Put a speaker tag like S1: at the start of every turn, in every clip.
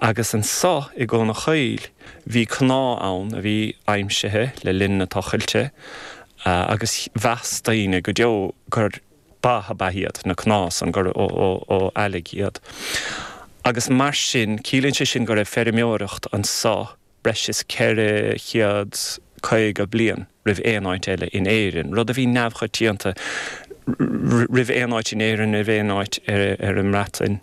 S1: Agus anso i gCuan a' Choill bhí cnámh ann a bhí aimsithe le linn na tochailte agus mheas daoine go deo gur ba ab ea iad na cnámha san, gur ó eallaigh iad. Agus mar sin, ciallaíonn sé sin go raibh feirmeoireacht anso breis is 450 bliain roimh aon áit eile in Éirinn, rud a bhí neamhchoitianta roimh aon áit in Éirinn, roimh aon áit ar an mBreatain,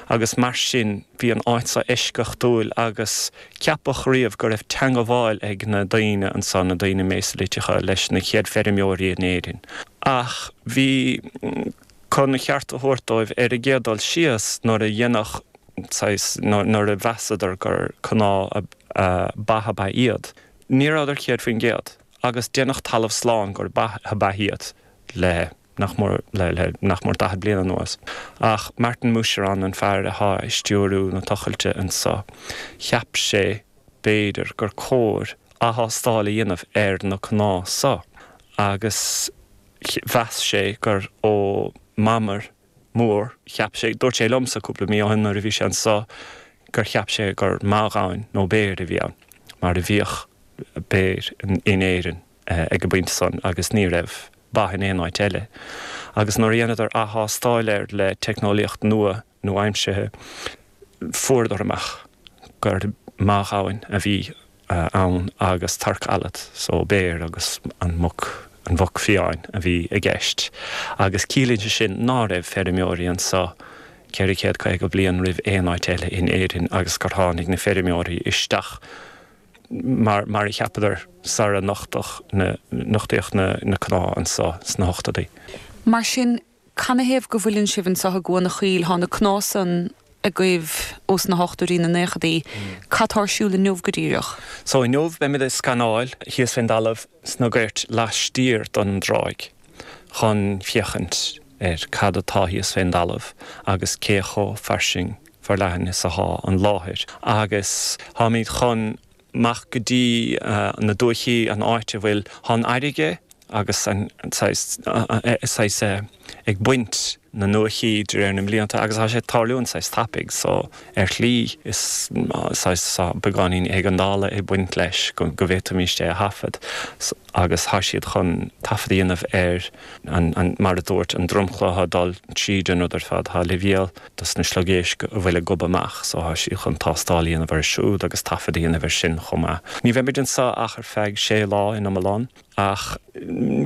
S1: agus mar sin bhí an áit seo eisceachtúil agus ceapadh riamh go raibh teangabháil ag na daoine anso, na daoine Méisiliteacha, leis na chéad feirmeoirí in Éirinn. Ach bhí. Chun a cheart a thabhairt dóibh, ar an gcéad dul síos, nuair a dhéanadh saghas, nuair a mheasadar gur cnámha ba ab ea iad, ní rabhadar 100%, agus déanadh talamh slán gur ba ab ea iad le nach mór, le nach mór 40 bliain anuas. Ach Martin Moucheron, an fear athá ag stiúriú na tochailte anso, cheap sé, b'fhéidir, gur cóir ath-thástáil a dhéanamh ar na cnámha so, agus. Mheas sé gur ó mamair mór, cheap sé, dúirt sé liomsa cúpla mí ó shin nuair a bhí sé anso gur cheap sé gur meadhgamhain nó béar a bhí ann, mar a bhíodh béir in Éirinn ag an bpointe san agus ní raibh ba in aon áit eile. Agus nuair a dhéanadar ath-thástáil air le teicneolaíocht nua, nua-aimsithe, fuaireadar amach gur meadhgamhain a bhí ann agus torc allat, so béar agus an muc, an mhuc fiáin a bhí i gceist. Agus ciallaíonn sé sin ná raibh feirmeoirí anso 450 bliain roimh aon áit eile in Éirinn agus gur tháinig na feirmeoirí isteach mar, mar a cheapadar sara nochtadh na, nochtaíodh na, na cnámha anso sna hochtóidí.
S2: Mar sin, Canathaobh go bhfuileann sibh anso i gCuan a' Choill? Thá na cnámha san agaibh ós na hochtóidí, na naochadaí. Cad tá ar siúl inniu go díreach?
S1: So inniu beimid ag scanáil thíos fén dtalamh sna goirt laistiar don dtráigh chun féachaint ar cad atá thíos fén dtalamh agus cé chomh fairsing forleathan is athá an láthair agus táimid chun amach go dtí na dúichí, an áit a bhfuil, thá an fharraige agus an saghas, saghas ag baint na ndúichí de réir na mblianta agus thá sé ag tarlúint saghas tapaidh so ar shlí is saghas tá beagáinín éigeandála ag baint leis go bhféadfaimíst é a thaifead agus thá siad chun taifead a dhéanamh ar an, an, mar a dúirt, an dromchla athá ag dul tríd an rud ar fad, thá leibhéal. dos na sliogéisc a bhfuil ag gobadh amach so thá siad chun tástáil a dhéanamh orthu siúd agus taifead a dhéanamh air sin chomh maith. Ní bheimid anseo ach ar feadh sé lá in iomlán ach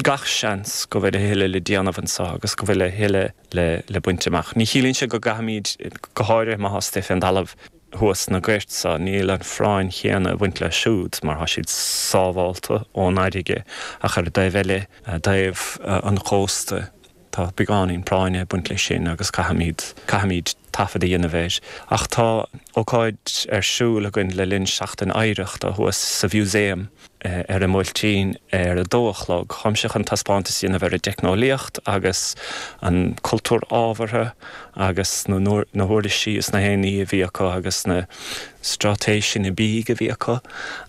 S1: gach seans go bhfuil a thuilleadh le déanamh anseo agus go bhfuil a thuilleadh le le baint amach. Ní chiallaíonn sé go gcaithfimid, go háirithe má thá istigh fén dtalamh thuas sna goirt so, níl an phráinn chéanna ag baint leo siúd mar thá siad sábhálta ón fharraige ach ar an dtaobh eile, taobh an chósta, Tá beagáinín práinne ag baint leis sin agus caithfimid, caithfimid taifead a dhéanamh air. Ach tá ócáid ar siúl againn le linn Seachtain Oidhreachta thuas sa Mhúsaem ar an mBuailtín ar a dó a chlog. Táimse chun taispeántas a dhéanamh ar an dteicneolaíocht agus an cultúr ábhartha agus na, na huirlisí is na haon ní a bhí acu agus na straitéiseanna bídh a bhí acu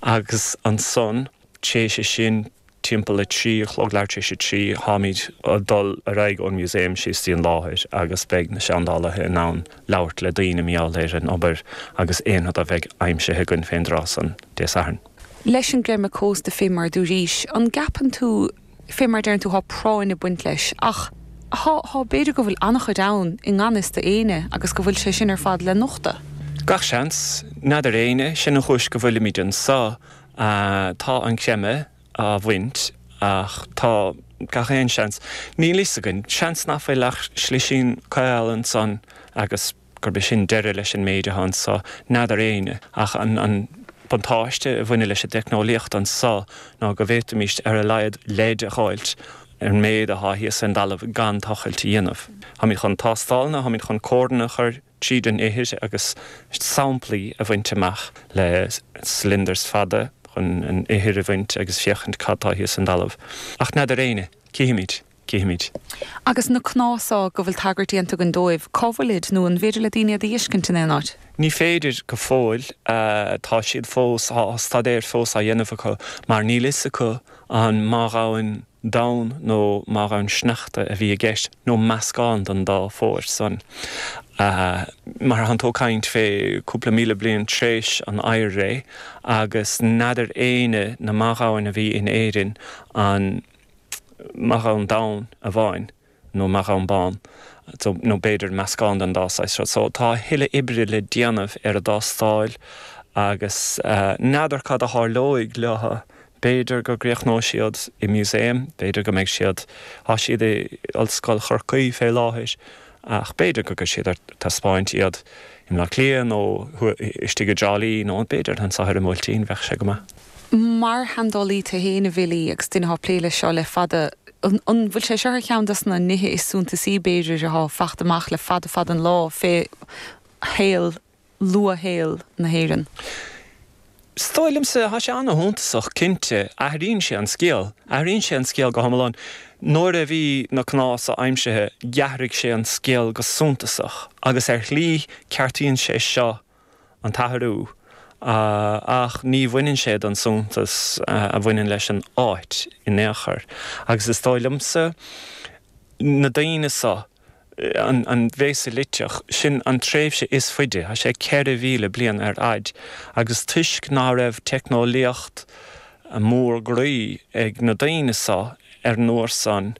S1: agus ansan, Théis sin, timpeall 3 a chlog, leathuair tar éis 3, táimid ag dul ar aghaidh ón Museum síos dtí an láthair agus beidh na seandálaithe in ann labhairt le daoine mar gheall ar an obair agus aon rud a bheidh aimsithe againn fén dtráth san Dé Sathairn.
S2: Leis an gcreimeadh cósta, fé mar dúraís, an gceapann tú, fé mar deireann tú, thá práinn ag baint leis, ach thá, thá, b'fhéidir go bhfuil an-chuid ann i ngan fhios do éinne agus go bhfuil sé sin ar fad le nochtadh?
S1: Gach seans. N'fheadar éinne. Sin an chúis go bhfuilimid anso. Tá an creimeadh á bhaint ach tá gach aon seans, níl fhios againn, seans nach bhfuil ach slisín caol ansan agus gurb é sin deireadh leis an méid atá anso, n'fheadar éinne. Ach an buntáiste a bhaineann leis an dteicneolaíocht anso ná go bhféadfaimíst ar a laghad leid a dh'fháilt ar an méid athá thíos fén dtalamh gan tochailt a dhéanamh. Táimid chun tástálanna, táimid chun córanna a chur tríd an ithir agus samplaí a bhaint amach le cylinders fada chun an ithir a bhaint agus féachaint cad tá thíos san dtalamh. Ach n'fheadar éinne. Cífimid. Cífimid.
S2: Agus na cnámha so go bhfuil tagairt déanta againn dóibh, cá bhfuilid, nó an bhféidir le daoine iad a dh'fheiscint in aon áit?
S1: Ní féidir go fóill. Tá siad fós, tá staidéar fós á dhéanamh acu mar níl fhios acu an meadhgamhain donn nó meadhgamhain sneachta a bhí i gceist, nó meascán den dá phór san. Mar thánn tú ag caint fé cúpla 1,000 bliain tréis an oighir-ré agus n'fheadar éinne na meadhóin a bhí in Éirinn an meadhón donn amháin nó meadhón bán so nó b'fhéidir meascán den dá saghas seo. So tá a thuilleadh oibre le déanamh ar a dtástáil agus n'fheadar cad a tharlóidh leo. B'fhéidir go gcríochnóidh siad i museum, b'fhéidir go mbeidh siad, tá siad i Ollscoil Chorcaí fé láthair ach b'fhéidir go gcuirfidh siad ar taispeáint iad i mBleá Cliath nó istigh i dTrá Lí nó b'fhéidir anso ar an mBuailtín, bheadh sé go maith.
S2: Mar sheandálaí tú fhéin, a Bhilí, agus duine atá ag plé leis seo le fada, an bhfuil sé seo ar cheann dos na nithe is suntasaí, b'fhéidir, atá fachta amach le fada fada an lá fé shaol, luathshaol na hÉireann?
S1: Is dóigh liomsa, tá sé ana-shuntasach, cinnte. Athraíonn sé an scéal. Athraíonn sé an scéal go hiomlán. Nuair a bhí na cnámha aimsithe, d'athraigh sé an scéal go suntasach agus ar shlí ceartaíonn sé seo an t-athrú, ach ní bhaineann sé den suntas a bhaineann leis an áit in aon chor. Agus is dóigh liomsa, na daoine so, an Mhéisiliteach, sin an tréimhse is faide, tá sé 4,000 bliain ar fhaid, agus toisc ná raibh teicneolaíocht mór groí ag na daoine so ar an uair san,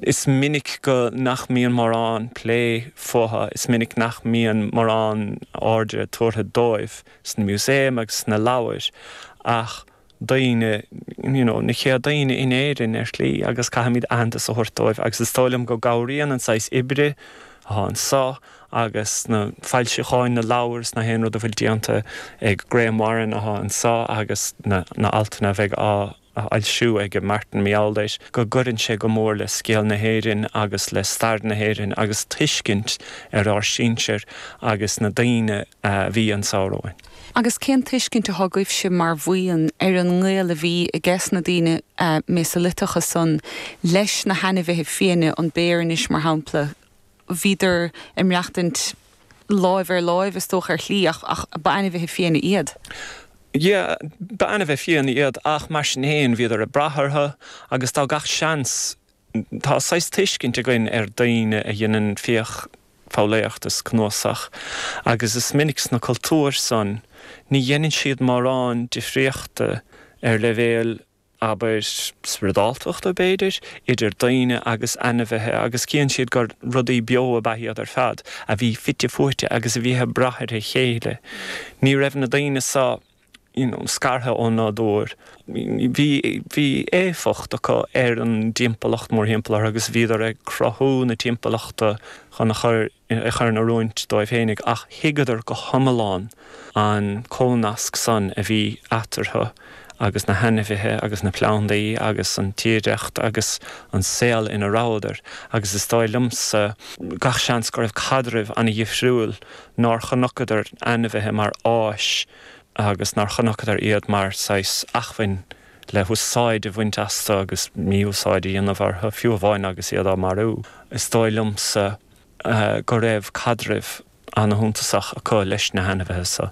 S1: Is minic go nach mbíonn mórán plé fúthu, is minic nach mbíonn mórán airde tabhartha dóibh sna músaeim agus sna leabhair ach daoine, you know, na chéad daoine in Éirinn ar shlí agus caithfimid aitheantas a thabhairt dóibh agus is dóigh liom go gcabhraíonn an saghas oibre atá anso agus na foilseacháin, na leabhair is na haon rud a bhfuil déanta ag Graham Warren atá anso agus na altanna a bheidh á a fhoilsiú ag Martin McAulate, go gcuireann sé go mór le scéal na hÉireann agus le stair na hÉireann agus tuiscint ar ár sinsir agus na daoine a bhí anso romhainn.
S2: Agus cén tuiscint atá agaibhse mar bhuíon ar an ngaol a bhí ages na daoine Méisiliteacha san leis na hainmhithe fiaine, an béar anois mar shampla, bhíodar ag maireachtaint láimh ar láimh is dócha ar shlí ach ach ba ainmhithe fiaine iad.
S1: Yeah, ba ainmhithe fiaine iad ach mar sin fhéin bhíodar ag brath orthu agus tá gach seans, tá saghas tuiscint againn ar daoine a dheineann fiach foghlaíocht is cnuasach agus is minic sna cultúir san ní dheineann siad mórán difríochta ar leibhéal abair, spioradáltachta, b'fhéidir, idir daoine agus ainmhithe agus cíonn siad gur rudaí beo ab ea iad ar fad, a bhí fite fuaite agus a bhí ag brath ar a chéile. Ní raibh na daoine so, you know, scartha ón nádúr. Bhí, bhí éifeacht acu ar an dtimpeallacht mórthimpeall orthu agus bhíodar ag cruthú na timpeallachta chun a chur, a chur in oiriúint dóibh fhéinig, ach thuigeadar go hiomlán an comhnasc san a bhí eatarthu agus na hainmhithe agus na plandaí agus an tírdhreacht agus an saol ina rabhadar, agus is dóigh liomsa gach seans go raibh caidreamh ana-dhifriúil, nár chonaiceadar ainmhithe mar áis agus nár chonaiceadar iad mar saghas acmhainn le húsáid a bhaint astu agus mí-úsáid a dhéanamh orthu, fiú amháin agus iad á marú. Is dóigh liomsa go raibh caidreamh ana-shuntasach acu leis na hainmhithe so.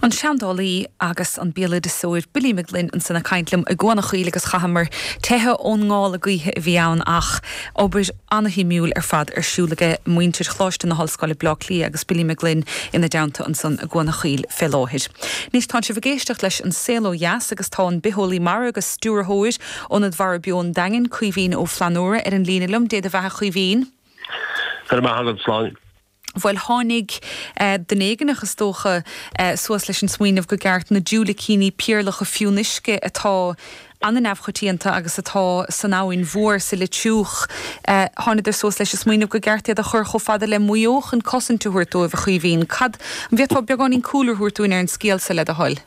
S2: An seandálaí agus an béaloideasóir Billy Mag Fhloinn ansan ag caint liom i gCuan a' Choill agus chaitheamar teitheadh ón ngála gaoithe a bhí ann ach obair ana-shuimiúil ar fad ar siúl aige muintir Choláiste na hOllscoile Bleá Cliath agus Billy Mag Fhloinn ina dteannta ansan i gCuan a' Choill fé láthair. Anois tánn sibh ag éisteacht leis An Saol Ó Dheas agus tá an bitheolaí mara agus stiúrthóir Ionad Mhara Beo an Daingin, Caoimhín Ó Flannúra, ar an líne liom. Dé do bheatha, a Chaoimhín.
S3: Go raibh maith agat, Sláine.
S2: Bhuel, tháinig duine éigineach, is dócha, suas leis an smaoineamh go gceart na diúilicíní piarlacha fionnuisce atá an-neamhchoitianta agus atá san Abhainn Mhór sa Leitriúch, thánadar suas leis an smaoineamh go gceart iad a chur chomh fada le Maigh Eo chun cosaint a thabhairt dóibh, a Chaoimhín. Cad, an bhféadfá beagáinín cúlra a thabhairt dúinn ar an scéal so, le do thoil?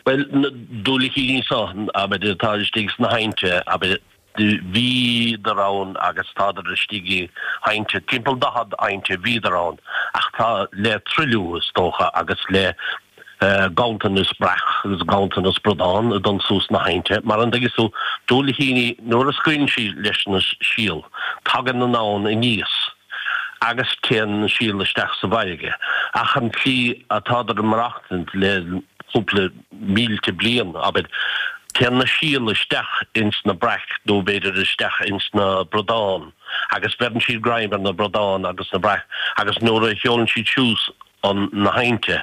S3: Bhuel, na diúilicíní seo, abair, atá istigh sna haibhnte, abair, bhíodar ann agus tádar istigh i haibhnte, timpeall 40 aibhnte bhíodar ann, ach tá le truailliú, is dócha, agus le ganntanas breac agus ganntanas bradán ag dul suas sna haibhnte, mar an dtuigeann tú, diúilicíní, nuair a scaoileann siad leis na síol, tagann an abhainn aníos. agus téann an síol isteach sa bhfarraige. Ach an tslí atádar ag maireachtaint le cúpla mílte bliain, abair. Téann na síola isteach ins na braic nó b'fhéidir isteach ins na bradáin agus bheireann siad greim ar na bradáin agus na braic agus nuair a sheolann siad suas an na hainte.